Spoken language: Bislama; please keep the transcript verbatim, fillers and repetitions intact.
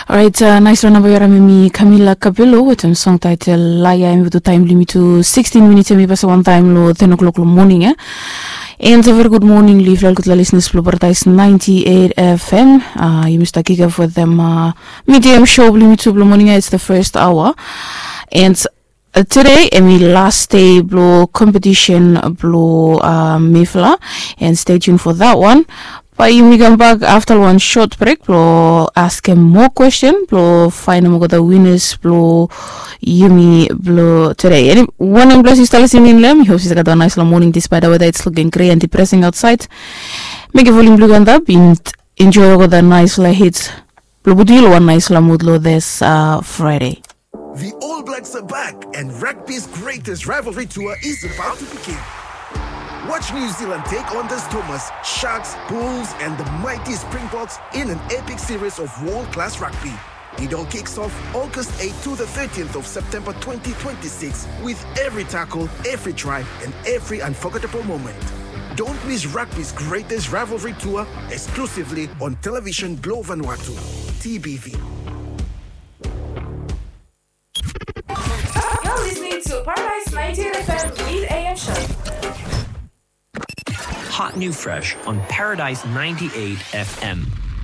Orait, naispela namba we harim em i Camila Cabello wetem song taetel Laia. Em i go tu taem blong yumi tu sixteen minits, em i pasim wantaem long ten o'clock long moning ia. And a very good morning long yufala olgeta listeners blong Paradise ninety-eight F M. Yumi stap kick off wetem medium show blong yumi tu blong moning ia. It's the first hour. And tude em i last day blong competition blong mifala. And stay tuned for that one. Bae yumi kambak afta long wan short break blong askem moa kwesten blong faenem olgeta winners blong yumi blong tude. Wanem ples yu stap listening long em? Mi hop se yu stap gat wan naispela moning, despite the weather it's looking grey and depressing outside. Mekem volume blong yu go antap, enjoy olgeta naispela hits blong putum yu long wan naispela mood long this Friday. The All Blacks are back, and rugby's greatest rivalry tour is about to begin. Watch New Zealand take on the Stormers, Sharks, Bulls, and the mighty Springboks in an epic series of world-class rugby. It all kicks off August eighth to the thirtieth of September twenty twenty-six, with every tackle, every try, and every unforgettable moment. Don't miss rugby's greatest rivalry tour exclusively on Television Globe Vanuatu, T B V. You're listening to Paradise ninety-eight F M with A M Show. Hot new fresh on Paradise ninety-eight F M.